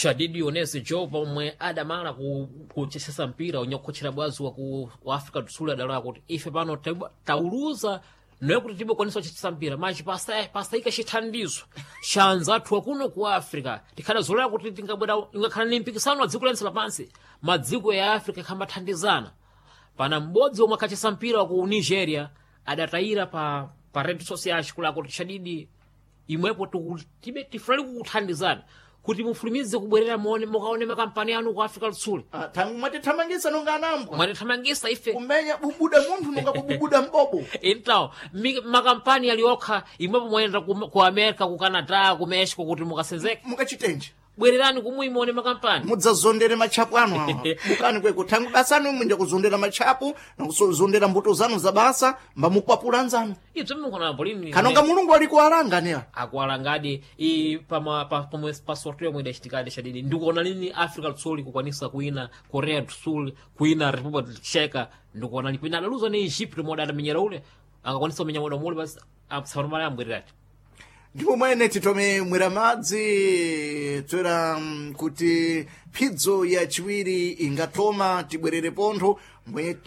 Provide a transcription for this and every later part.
Shadidi Onesi Joe pomwe adamala kuchesesa mpira unyakukhochera bwazi wa Africa do Sul adalowa kuti ife pano tauluza noye kuti tibokwanisa kuchesesa mpira machi pasayika chithandizo cha anzathu akuno ku Africa tikhala zolera kuti tingabwera ingakhala ni mpikisano wa dziko lense lapansi madziko ya Africa ikhambathandizana. Pana m'bodzi omwe akhachesa mpira wa ku Nigeria adatayira pa redes sociais kula kuti Shadidi imwepo tibe tifulali kukuthandizana kuti mufulumize kubwerera muone mukaone makampani anu ku Africa do Sul. Ah, tangu mwatithamangisa nonga anambwa Mwatithamangisa ife. Kumenya bubuda munthu nonga kububuda mbobo. Então makampani ali okha imwepo mwayenda ku America, ku Canada, ku Mexico kuti mukasenzeke. Mukachitenje. Bwererani kumwe muone makampani. Mudzazondere matchapu anu awa. Mukani kweko thangu basa anu mwinja kuzondera matchapu nakuzondera mbuto zanu za basa mbamukwapula anzanu. Ibzo mukona lini. Kanonga Mulungu ali kuwalanga newa. Akuwalangadi i pama pa pomwe pa sorteio yomwe idachitikadi Shadidi ndikuona lini Africa do Sul kukwanisa kuina Korea do Sul, kuina Republic Checa, ndikuona lini pina adaluza ni Egypt moda adamenyera ule angakwanisa kumenya moda mule basi apsanomala ambwererati. Ndipo mwene titome mwera madzi toera kuti phidzo yachiwiri ingatoma tibwerere pontho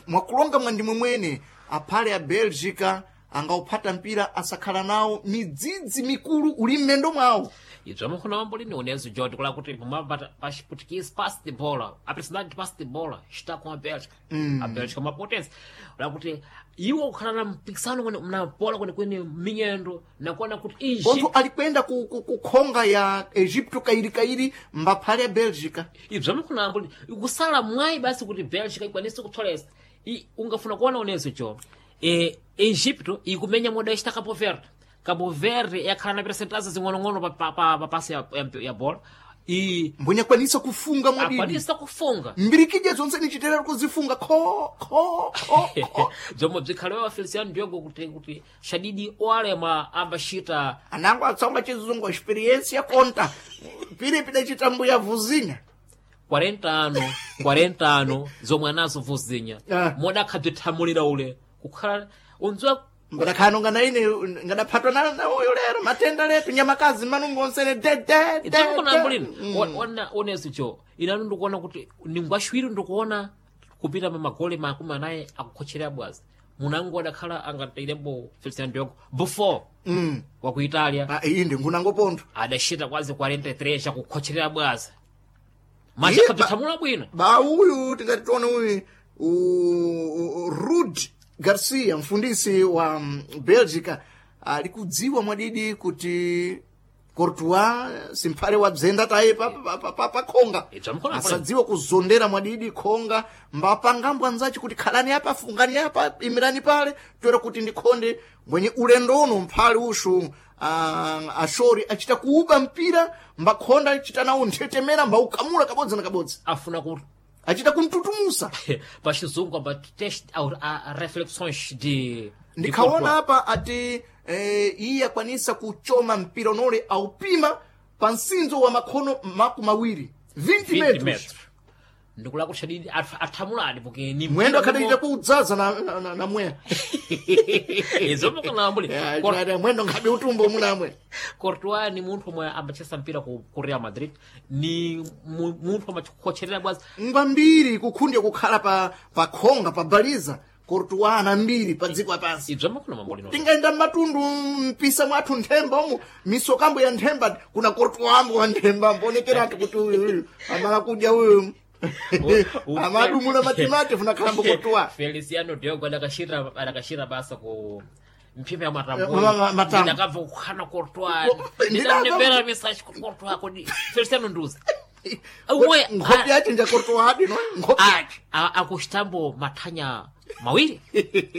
mwakulonga mwandimwe mwene aphale a Belgica angauphata mpira asakhala nawo midzidzi mikulu uli m'mendo mwawo. Ibzo amakhona mambo lini unezo Jordi kula kuti pomwe pa Chiputukese passe de bola, a presidente passe de bola está com a Bélgica. A Bélgica é uma potência kula kuti iwo kukhala na mpikisano kwene na bola kwenekwene minyendo nakuona kuti Pontho Egypt alikwenda ku khonga ya Egipto kairikairi mbaphale ya Belgica. Ibzo amakhona mambo lini kusala mwayi basi kuti Bélgica ikwanise kutholesa. Ungafuna kuona unezo jo Egipto ikumenya moda esta Cabo Verde. Cabo Verde yakhala na percentagens zing'onong'ono pa pasi ya bola i Mbwenye akwanisa kufunga mwadidi. Akwanisa kufunga. Mbirikidya zonse nichiterera kuzifunga kho kho kho kho. Bzomwe bzikhalewa Feliciano Diogo kuti Shadidi oalema ambachita. Anango atsonga chizungu experiência conta piri pidachita mbuya vuzinya. 40 ano 40 ano zomwe anazo vuzinya. Moda akhabzithamulira ule kukhala undziwa. Mbadakhano ngana ine ngadaphatwa na uyo lero matenda letu nyamakazi manungo onsene de de de. Itsakonambulini ona onezo jo inanu ndikuona kuti ningwashwiri ndikuona kupita pa magoli 40 akukhocherera bwazi munango adakhala angatailembo Feliciano Diogo Buffon wa ku Italia. Ah, iyi ndi ngunango pontho. Adachita kwazi 43 chakukhocherera bwazi machakhabzithamula bwino. Ba uyu tingati tione uyu Rud Garcia mfundisi wa Belgica ali kudziwa mwadidi kuti Courtois simphale wa bzenda taye pa khonga. Ibza mkhona. Asadziwe kuzondera mwadidi khonga mbapangambwa nzachi kuti khalani apa fungani apa imirani pale toera kuti ndikhonde mwenye ulendo uno mphale ushu ashori achita kuuba mpira mbakhonda achita nawo nthetemera mbaukamula kabodzi na kabodzi. Afuna ku Achita kumtutumusa. Pa chizungu amba test a reflexões de Ndikhaona apa ati iye akwanisa kuchoma mpira unole aupima pa msinzo wa makhono 20 20 20 metros. Metros ndikula kuti Shadidi athamuladi porque ni Mwendo akhadachita kuudzaza na mweya. Izomukanambuli. Mwendo ngabe utumbo munamwe. Courtois ni munthu omwe ambachesa mpira ku Real Madrid ni munthu amachikhocherera bwazi. Ngwambiri kukhundya kukhala pa khonga pa baliza Courtois ana mbiri pa dziko lapansi. Ibzo makona mambo lino. Tingaenda mmatundu mpisa mwathu nthemba umu misokambo ya nthemba kuna Courtois ambo wa nthemba ambonekeratu kuti uyu uyu amala kudya uyu amadumula matimati funa khalambo Courtois. Feliciano Diogo adakashira basa ku mphipa ya Matambo. Ndakabva kukhana Courtois. Ndinamvera message ku Courtois kodi Feliciano nduza. Umwe Nkhope yache nja Courtois adi no nkhope yache. Akuchitambo mathanya mawiri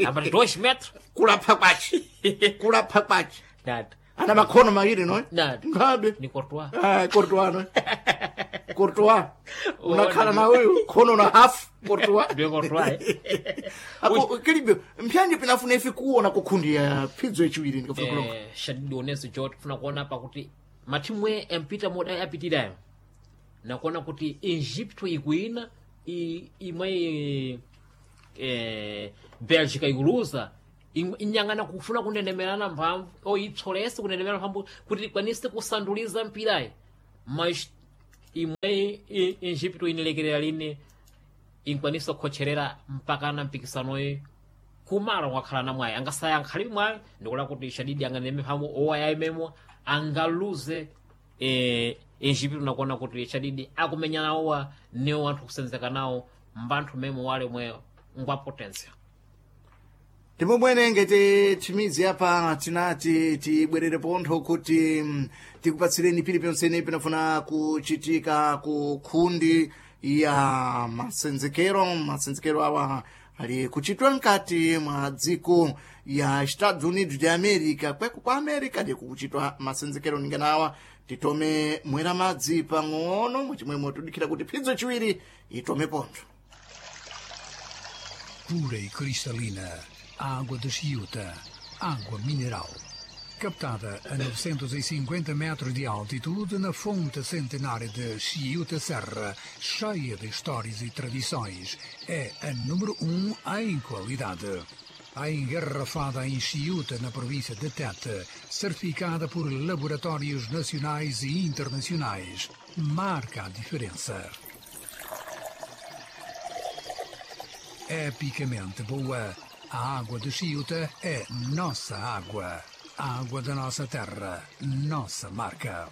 ambati 2 metros. Kulapha kwache kulapha kwache. Dad. Ana makhono mawiri no. Dad. Ngabe ni Courtois. Ah, Courtois no. Courtois unakhala na uyu khono na half Courtois. Ndiye Courtois. Apo kilibyo mphyanje pinafuna ife kuona kukhundiya phidzo yachiwiri ndikafuna kulonga. Shadidi onezo jo tifuna kuona apa kuti mathimu empita moda apitirayo nakuona kuti Egypto ikuina imwe Belgica ikuluza inyang'ana kufuna kunenemerana mphamvu o ipsolese kunenemerana mphamvu kuti ikwanise kusanduliza mpirayi mas Imwe Egipto inilekerera lini inkwanisa kukhocherera mpaka na mpikisanoyi kumalo wakhala na mwayi angasaya ankhalibe mwayi ndikula kuti shadidi anganeme phamu owaya imemo angaluze Egipto nakuona kuti shadidi akumenya nawowa niwo anthu kusenzeka nawo mbanthu memo wale mwe ngwa potensia. Ndipo mwene ngati chimidzi apa tinati tibwerere pontho kuti tikupatsireni piliponse pinafuna kuchitika ku khundi ya masenzekero. Masenzekero awa ali kuchitwa mkati mwa dziko ya Estados Unidos de America, kweko kwa America ndikukuchitwa masenzekero ninganawa. Titome mwera madzi pang'ono mwachimwemwe tudikira kuti phidzo chiwiri itome pontho. Pura e cristalina, água de Chiuta, água mineral. Captada a 950 metros de altitude na fonte centenária de Chiuta Serra, cheia de histórias e tradições, é a número em qualidade. A engarrafada em Chiuta, na província de Tete, certificada por laboratórios nacionais e internacionais, marca a diferença. Epicamente boa, a água de Chiuta é nossa água. A água da nossa terra, nossa marca.